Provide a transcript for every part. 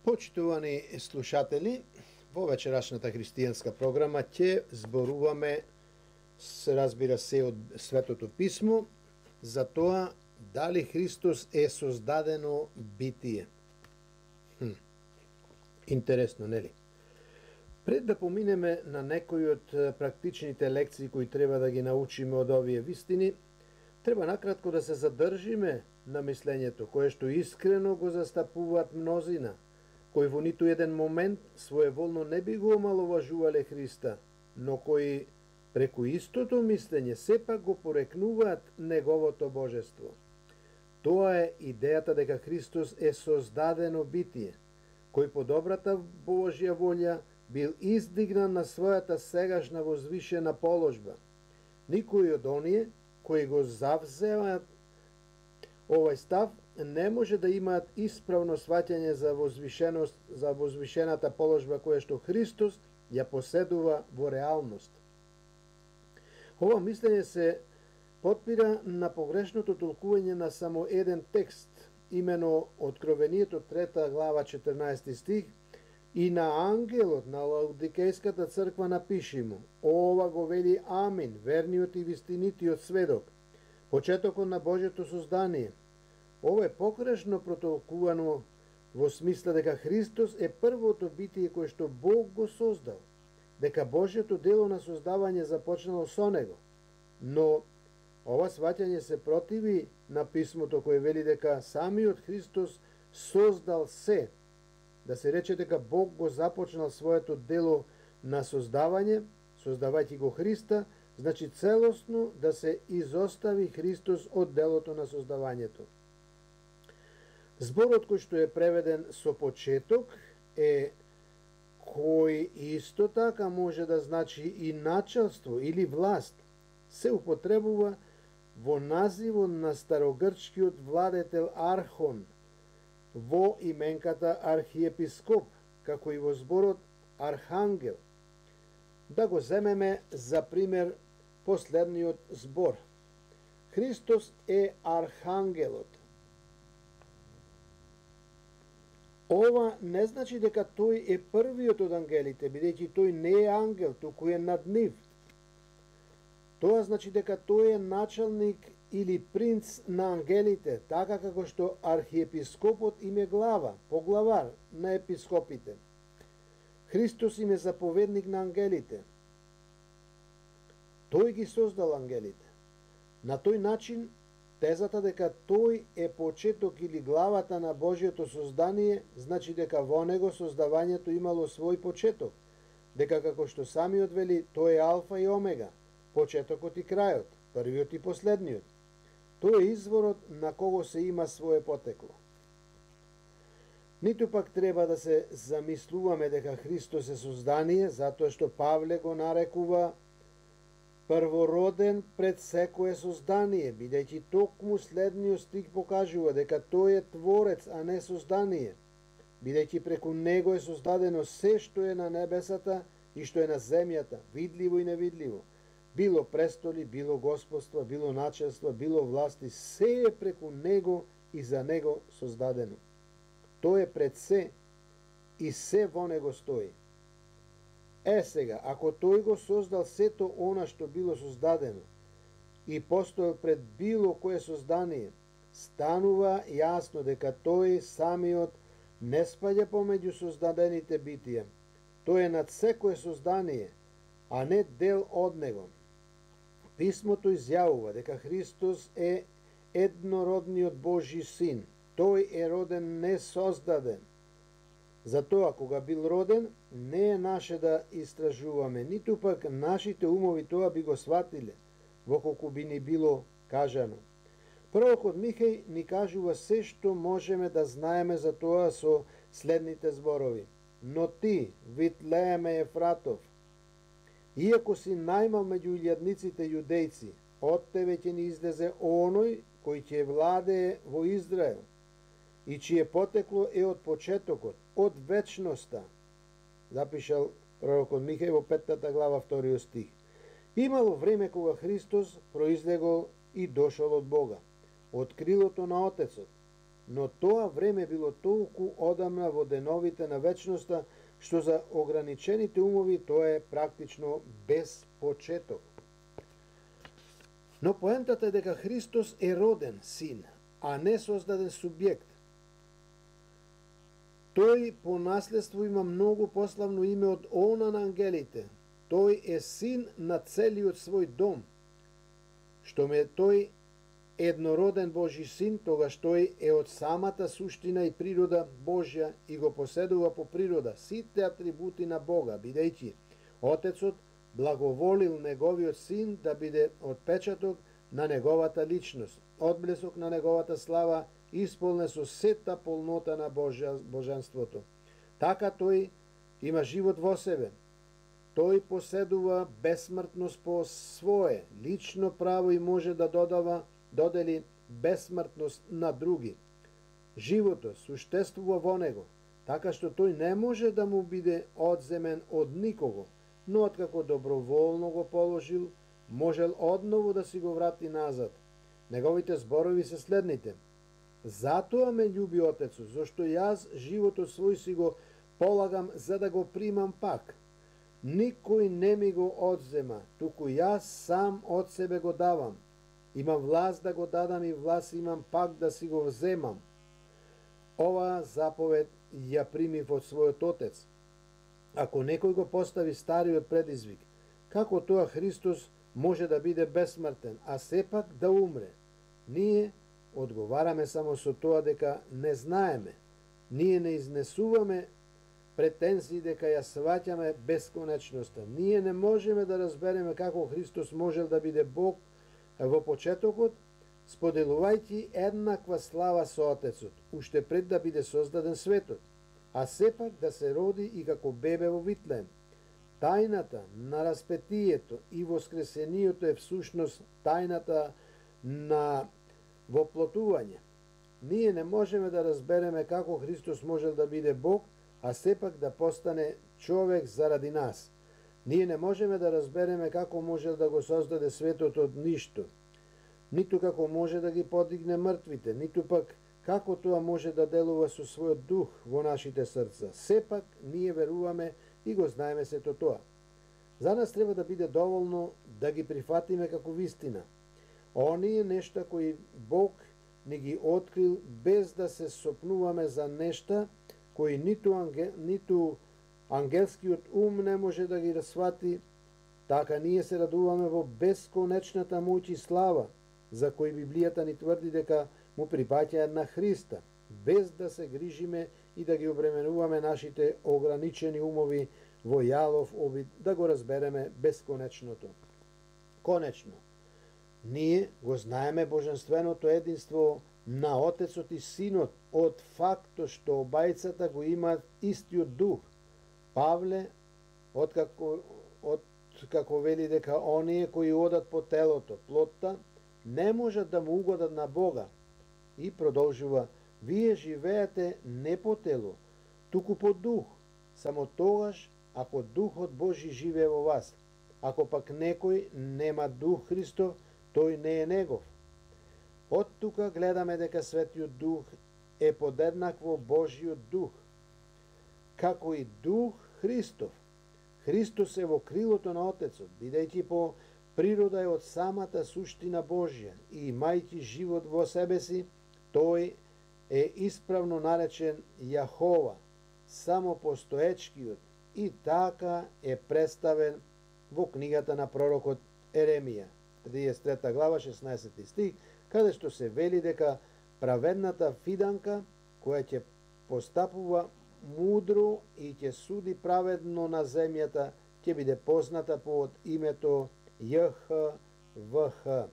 Почитувани слушатели, во вечерашната христијанска програма ќе зборуваме, се разбира се, од Светото Писмо, за тоа дали Христос е создадено битие. Интересно, нели? Пред да поминеме на некои од практичните лекции кои треба да ги научиме од овие вистини, треба накратко да се задржиме на мислењето кое што искрено го застапуваат мнозина, кои во ниту еден момент своеволно не би го омаловажувале Христа, но кои преку истото мислење сепак го порекнуваат неговото божество. Тоа е идејата дека Христос е создадено битие, кој по добрата Божја волја бил издигнан на својата сегашна возвишена положба. Никој од оние кои го завземаат овој став не може да имаат исправно сваќање за возвишената положба која што Христос ја поседува во реалност. Ова мислење се потпира на погрешното толкување на само еден текст, имено Откровението 3 глава 14 стих, и на ангелот на Лаудикејската црква напиши му: ова го вели Амин, верниот и вистинитиот сведок, почетокот на Божјото создание. Ова е погрешно протолкувано во смисла дека Христос е првото битие кое што Бог го создал, дека Божјото дело на создавање започнало со него. Но ова сваќање се противи на писмото кое вели дека самиот Христос создал се. Да се рече дека Бог го започнал своето дело на создавање, создавајќи го Христа, значи целосно да се изостави Христос од делото на создавањето. Зборот кој што е преведен со почеток е кој исто така може да значи и началство или власт, се употребува во називот на старогрчкиот владетел Архон, во именката архиепископ, како и во зборот архангел. Да го земеме за пример последниот збор. Христос е архангелот. Ова не значи дека тој е првиот од ангелите, бидејќи тој не е ангел, туку е над нив. Тоа значи дека тој е началник или принц на ангелите, така како што архиепископот им е глава, поглавар на епископите. Христос им е заповедник на ангелите. Тој ги создал ангелите. На тој начин, тезата дека тој е почеток или главата на Божјото создание, значи дека во него создавањето имало свој почеток, дека како што самиот вели, тој е алфа и омега, почетокот и крајот, првиот и последниот. Тој е изворот на кого се има свое потекло. Ниту пак треба да се замислуваме дека Христос е создание, затоа што Павле го нарекува првороден пред секое создание, бидејќи токму следниот стих покажува дека тој е творец, а не создание, бидејќи преку него е создадено се што е на небесата и што е на земјата, видливо и невидливо. Било престоли, било господства, било началства, било власти, се е преку него и за него создадено. Тој е пред се и се во него стои. Сега, ако тој го создал сето она што било создадено и постоел пред било кое создание, станува јасно дека тој самиот не спаѓа помеѓу создадените битија. Тој е над секое создание, а не дел од него. Писмото изјавува дека Христос е еднородниот Божји син. Тој е роден не создаден. Затоа, кога бил роден, не е наше да истражуваме, ниту пак нашите умови тоа би го сватиле, во колку би ни било кажано. Пророкот Михеј ни кажува се што можеме да знаеме за тоа со следните зборови. Но ти, Витлееме Ефратов, иако си најмал меѓу илјадниците јудејци, од тебе ќе ни излезе оној кој ќе владее во Израел, и чие потекло е од почетокот, од вечноста, запишал пророкот Михеј во 5 глава 2 стих. Имало време кога Христос произлегол и дошол од Бога, од крилото на Отецот. но тоа време било толку одамна во деновите на вечноста, што за ограничените умови тоа е практично без почеток. Но поентата е дека Христос е роден син, а не создаден субјект. Тој по наследство има многу пославно име од она на ангелите. Тој е син на целиот свој дом. Што ме тој еднороден Божи син, тогаш тој е од самата суштина и природа Божја и го поседува по природа сите атрибути на Бога, бидејќи Отецот благоволил неговиот син да биде отпечаток на неговата личност, одблесок на неговата слава, исполнен со сета полнота на божанството. Така тој има живот во себе. Тој поседува бесмртност по свое лично право и може да додели бесмртност на други. Животот суштествува во него, така што тој не може да му биде одземен од никого, но откако доброволно го положил, можел одново да си го врати назад. Неговите зборови се следните: затоа ме љуби Отецот, зашто јас животот свој си го полагам за да го примам пак. Никој не ми го одзема, туку јас сам од себе го давам. Имам власт да го дадам и власт имам пак да си го вземам. Оваа заповед ја примив од својот Отец. Ако некој го постави стариот предизвик, како тоа Христос може да биде бесмртен, а сепак да умре? Ние одговараме само со тоа дека не знаеме. Ние не изнесуваме претензии дека ја сваќаме бесконечноста. Ние не можеме да разбереме како Христос можел да биде Бог во почетокот, споделувајќи еднаква слава со Отецот, уште пред да биде создаден светот, а сепак да се роди и како бебе во Витлеем. Тајната на распетието и воскресението е всушност тајната на воплотување. Ние не можеме да разбереме како Христос можел да биде Бог, а сепак да постане човек заради нас. Ние не можеме да разбереме како можел да го создаде светот од ништо, ниту како може да ги подигне мртвите, ниту пак како тоа може да делува со својот дух во нашите срца. Сепак ние веруваме и го знаеме сето тоа. За нас треба да биде доволно да ги прифатиме како вистина. Оние нешта кои Бог ни ги открил без да се сопнуваме за нешта кои ниту ангелскиот ум не може да ги расфати, така ние се радуваме во бесконечната моќ и слава, за кои Библијата ни тврди дека му припаќаат на Христа, без да се грижиме и да ги обременуваме нашите ограничени умови во јалов обид да го разбереме бесконечното. Конечно, ние го знаеме божественото единство на Отецот и Синот од фактот што обајцата го имаат истиот дух. Павле, откако вели дека оние кои одат по телото, плотта, не можат да му угодат на Бога. И продолжува: вие живеете не по тело, туку по дух, само тогаш ако Духот Божи живее во вас. Ако пак некој нема Дух Христов, тој не е негов. Од тука гледаме дека Светиот Дух е подеднакво Божиот Дух, како и Дух Христов. Христос е во крилото на Отецот, бидејќи по природа е од самата суштина Божја и имајќи живот во себе си, тој е исправно наречен Јахова, самопостоечкиот, и така е представен во книгата на пророкот Еремија, 33 глава, 16 стих, каде што се вели дека праведната фиданка, која ќе постапува мудро и ќе суди праведно на земјата, ќе биде позната под името ЈХВХ.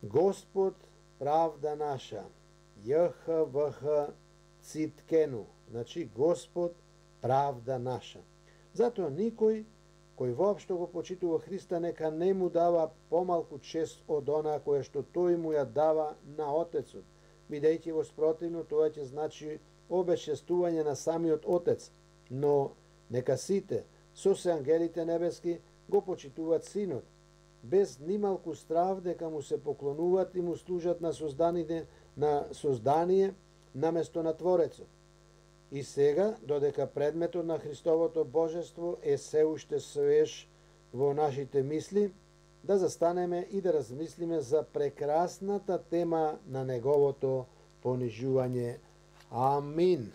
Господ правда наша, ЈХВХ Циткену, значи Господ правда наша. Затоа никој кој воопшто го почитува Христа нека не му дава помалку чест од она која што тој му ја дава на Отецот, бидејќи во спротивно тоа ќе значи обесчестување на самиот Отец, но нека сите, со се ангелите небески, го почитуваат Синот, без нималку страв дека му се поклонуваат и му служат на созданите на создание наместо на Творецот. И сега, додека предметот на Христовото божество е се уште свеж во нашите мисли, да застанеме и да размислиме за прекрасната тема на неговото понижување. Амин.